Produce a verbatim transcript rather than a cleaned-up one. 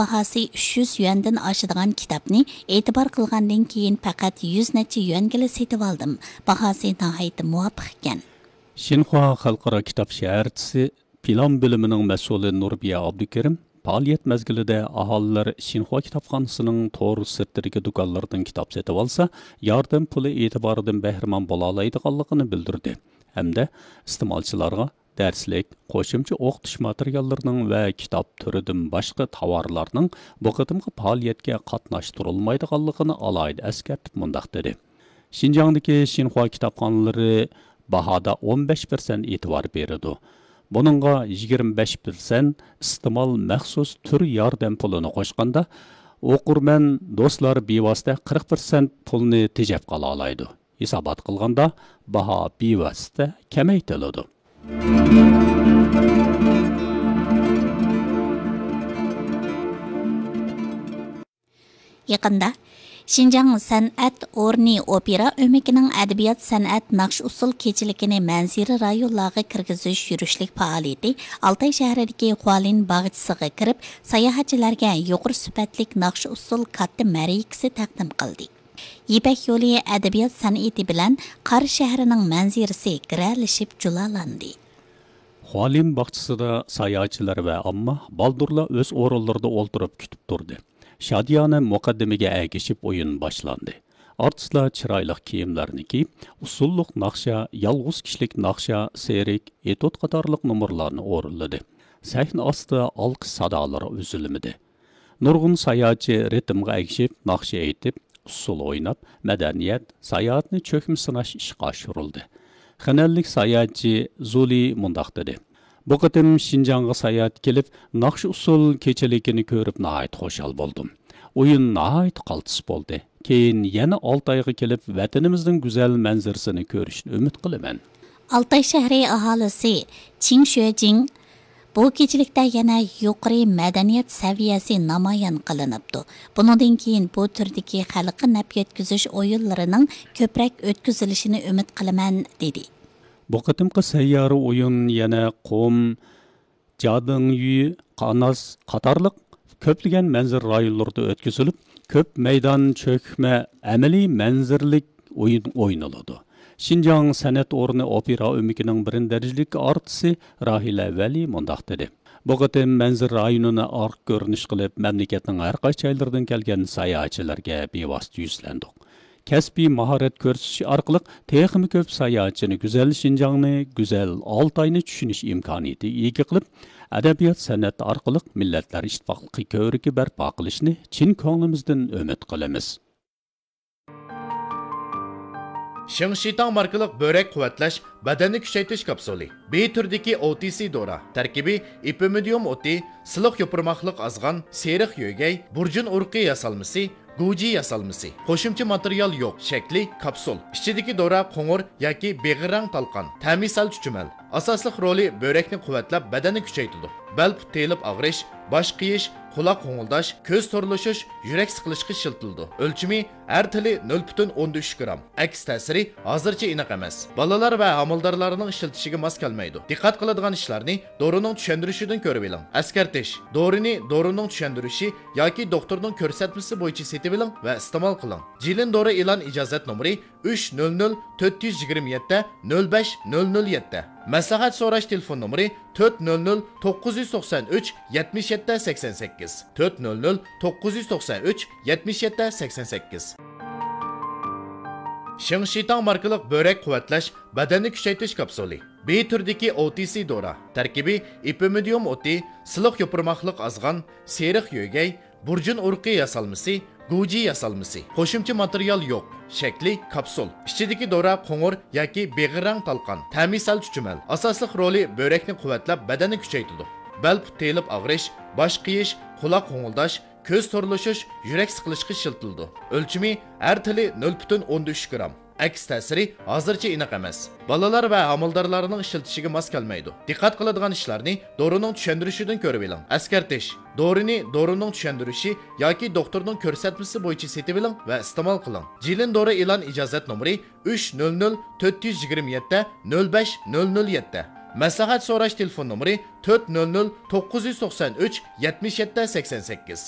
باھاسى ئۈچ يۈز يۈەندىن ئاشىدىغان كىتابنى ئېتىبار قىلغاندىن كېيىن پەقەت يۈز نەچچە يۈەنگىلا سېتىۋالدىم. باھاسى ناھايىتى مۇۋاپىق ئىكەن. شىنخۇا خەلقئارا كىتاب شەھەرچىسى پىلان بۆلۈمىنىڭ مەسئۇلى نۇربىيە ئابدۇكېرىم پائالىيەت مەزگىلىدە ئاھالىلەر شىنخۇا كىتابخانىسىنىڭ تور سىرتىدىكى دۇكانلىرىدىن كىتاب سېتىۋالسا، ياردەم پۇلى ئېتىبارىدىن بەھرىمەن بولالايدىغانلىقىنى بىلدۈردى ھەمدە ئىستېمالچىلارغا دەرسلىك، قوشۇمچە ئوقۇتۇش ماتېرىياللىرىنىڭ ۋە كىتاب تۈرىدىن باشقا تاۋارلارنىڭ بۇ قېتىمقى پائالىيەتكە قاتناشتۇرۇلمايدىغانلىقىنى ئالاھىدە ئەسكەرتىپ مۇنداق دېدى: شىنجاڭدىكى شىنخۇا كىتابخانىلىرى باھادا ئون بەش پىرسەنت ئېتىبار بېرىدۇ. بۇنىڭغا يىگىرمە بەش پىرسەنت ئىستېمال مەخسۇس تۈر ياردەم پۇلىنى قوشقاندا، ئوقۇرمەن دوستلار بىۋاسىتە قىرىق پىرسەنت پۇلنى تېجەپ قالالايدۇ. ھېسابات قىلغاندا، باھا بىۋاسىتە كېمەيتىلىدۇ. يېقىندا شىنجاڭ سەنئەت ئورنى ئوپېرا ئۆمىكىنىڭ ئەدەبىيات سەنئەت ناخشا ئۇسسۇل كېچىلىكىنى مەنزىرە رايونلارغا كىرگۈزۈش يۈرۈشلۈك پائالىيىتى ئالتاي شەھىرىدىكى خۇالىن باغچىسىغا كىرىپ، ساياھەتچىلەرگە يۇقىرى سۈپەتلىك ناخشا ئۇسسۇل كاتتا مەرىكىسى تەقدىم قىلدى. يىپەك يولى ئەدەبىيات سەنئىتى بىلەن قار شەھىرىنىڭ مەنزىرىسى گىرەلىشىپ جۇلالاندى. خۇالىن باغچىسىدا ساياھەتچىلەر ۋە ئامما بالدۇرلا ئۆز ئورۇنلىرىدا ئولتۇرۇپ كۈتۈپ تۇردى. شادىيانە مۇقەددىمىگە ئەگىشىپ ئويۇن باشلاندى. ئارتىسلار چىرايلىق كىيىملەرنى كىيىپ، ئۇسسۇللۇق ناخشا، يالغۇز كىشىلىك ناخشا، سېرك، ئېتۇت قاتارلىق نومۇرلارنى ئورۇنلىدى. سەھنە ئاستىدا ئالقىش سادالىرى ئۈزۈلمىدى. نۇرغۇن ساياھەتچى رىتىمغا ئەگىشىپ، ناخشا ئېيتىپ، ئۇسسۇل ئويناپ، مەدەنىيەت، ساياھەتنى چۆكمە سىناش ئىشقا ئاشۇرۇلدى. خېنەنلىك ساياھەتچى زۇلى مۇنداق دېدى: بۇ قېتىم شىنجاڭغا ساياھەتكە كېلىپ، ناخشا ئۇسسۇل كېچىلىكىنى كۆرۈپ ناھايىتى خۇشال بولدۇم. ئويۇن ناھايىتى قالتىس بولدى. كېيىن يەنە ئالتايغا كېلىپ، ۋەتىنىمىزنىڭ گۈزەل مەنزىرىسىنى كۆرۈشنى ئۈمىد قىلىمەن. ئالتاي شەھىرى ئاھالىسى چىڭ شۆجىڭ بۇ كېچىلىكتە يەنە يۇقىرى مەدەنىيەت سەۋىيەسى نامايان قىلىنىپتۇ. بۇنىڭدىن كېيىن بۇ تۈردىكى خەلققە نەپ يەتكۈزۈش ئويۇنلىرىنىڭ كۆپرەك ئۆتكۈزۈلۈشىنى ئۈمىد قىلىمەن، دېدى. بۇ قېتىمقى سەييارە ئويۇن يەنە قۇم، جادىڭيۈ، قاناس قاتارلىق كۆپلىگەن مەنزىرە رايونلىرىدا ئۆتكۈزۈلۈپ، كۆپ مەيدان چۆكمە ئەمەلىي مەنزىرىلىك ئويۇن ئوينىلىدۇ. شىنجاڭ سەنئەت ئورنى ئوپېرا ئۆمىكىنىڭ بىرىنچى دەرىجىلىك ئارتىسى راھىلە ۋەلى مۇنداق دېدى: بۇ قېتىم مەنزىرە رايونىنى ئارقا كۆرۈنۈش قىلىپ، مەملىكەتنىڭ ھەر قايسى جايلىرىدىن كەلگەن ساياھەتچىلەرگە بىۋاسىتە يۈزلەندۇق. كەسپىي ماھارەت كۆرسىتىش ئارقىلىق تېخىمۇ كۆپ ساياھەتچىنى گۈزەل شىنجاڭنى، گۈزەل ئالتاينى چۈشىنىش ئىمكانىيىتىگە ئىگە قىلىپ، ئەدەبىيات سەنئەت ئارقىلىق مىللەتلەر ئىتتىپاقلىقى كۆۋرۈكى بەرپا قىلىشنى چىن كۆڭلىمىزدىن ئۈمىد قىلىمىز. شىڭشىتاڭ ماركىلىق بۆرەك قۇۋۋەتلەش، بەدەننى كۈچەيتىش كاپسۇلى. بى تۈرىدىكى ئو تى سى دورا. تەركىبى ئېپىمىدىيۇم ئوتى، سىلىق يوپۇرماقلىق ئازغان، سېرىق يۆگەي، بۇرجۇن ئۇرۇقى ياسالمىسى، گۇجى ياسالمىسى. قوشۇمچە ماتېرىيال يوق. شەكلى كاپسۇل. ئىچىدىكى دورا قوڭۇر ياكى بېغىر رەڭ تالقان. تەمى سەل چۈچۈمەل. ئاساسلىق رولى بۆرەكنى قۇۋۋەتلەپ، بەدەننى كۈچەيتىدۇ. بەل پۇت تېيىلىپ ئاغرىش، باش قېيىش، قۇلاق غوڭۇلداش، كۆز تورلىشىش، يۈرەك سىقىلىشقا ئىشلىتىلىدۇ. ئۆلچىمى ئەر تىلى نۆل پۈتۈن ئوندىن ئۈچ گرام. ئەكس تەسىرى ھازىرچە ئېنىق ئەمەس. بالىلار ۋە ھامىلىدارلارنىڭ ئىشلىتىشىگە ماس كەلمەيدۇ. دىققەت قىلىدىغان ئىشلارنى دورىنىڭ چۈشەندۈرۈشىدىن كۆرۈۋېلىڭ. ئەسكەرتىش: دورىنى دورىنىڭ چۈشەندۈرۈشى ياكى دوختۇرنىڭ كۆرسەتمىسى بويىچە سېتىۋېلىڭ ۋە ئىستېمال قىلىڭ. جىلىن دورا ئېلان ئىجازەت نومۇرى ئۈچ نۆل نۆل تۆت يۈز يىگىرمە يەتتە نۆل بەش نۆل نۆل يەتتە. مەسلىھەت سوراش تېلېفون نومۇرى تۆت نۆل نۆل توققۇز يۈز توقسان ئۈچ يەتمىش يەتتە سەكسەن سەككىز، تۆت نۆل نۆل توققۇز يۈز توقسان ئۈچ يەتمىش يەتتە سەكسەن سەككىز. شىڭشىتاڭ ماركىلىق بۆرەك قۇۋۋەتلەش، بەدەننى كۈچەيتىش كاپسۇلى. بى تۈرىدىكى ئو تى سى دورا. تەركىبى ئېپىمىدىيۇم ئوتى، سىلىق يوپۇرماقلىق ئازغان، سېرىق يۆگەي، بۇرجۇن ئۇرۇقى ياسالمىسى، گۇجى ياسالمىسى. قوشۇمچە ماتېرىيال يوق. شەكلى كاپسۇل. ئىچىدىكى دورا قوڭۇر ياكى بېغىر رەڭ تالقان. تەمى سەل چۈچۈمەل. ئاساسلىق رولى بۆرەكنى قۇۋۋەتلەپ، بەدەننى كۈچەيتىدۇ. بەل پۇت تېيىلىپ ئاغرىش، باش قېيىش، قۇلاق غوڭۇلداش، كۆز تورلىشىش، يۈرەك سىقىلىشقا ئىشلىتىلىدۇ. ئۆلچىمى ئەر تىلى نۆل پۈتۈن ئوندىن ئۈچ گرام. ئەكس تەسىرى ھازىرچە ئېنىق ئەمەس. بالىلار ۋە ھامىلىدارلارنىڭ ئىشلىتىشىگە ماس كەلمەيدۇ. دىققەت قىلىدىغان ئىشلارنى دورىنىڭ چۈشەندۈرۈشىدىن كۆرۈۋېلىڭ. ئەسكەرتىش: دورىنى دورىنىڭ چۈشەندۈرۈشى ياكى دوختۇرنىڭ كۆرسەتمىسى بويىچە سېتىۋېلىڭ ۋە ئىستېمال قىلىڭ. جىلىن دورا ئېلان ئىجازەت نومۇرى ئۈچ نۆل نۆل تۆت يۈز يىگىرمە يەتتە نۆل بەش نۆل نۆل يەتتە. مەسلىھەت سوراش تېلېفون نومۇرى: تۆت نۆل نۆل توققۇز يۈز توقسان ئۈچ يەتمىش يەتتە سەكسەن سەككىز.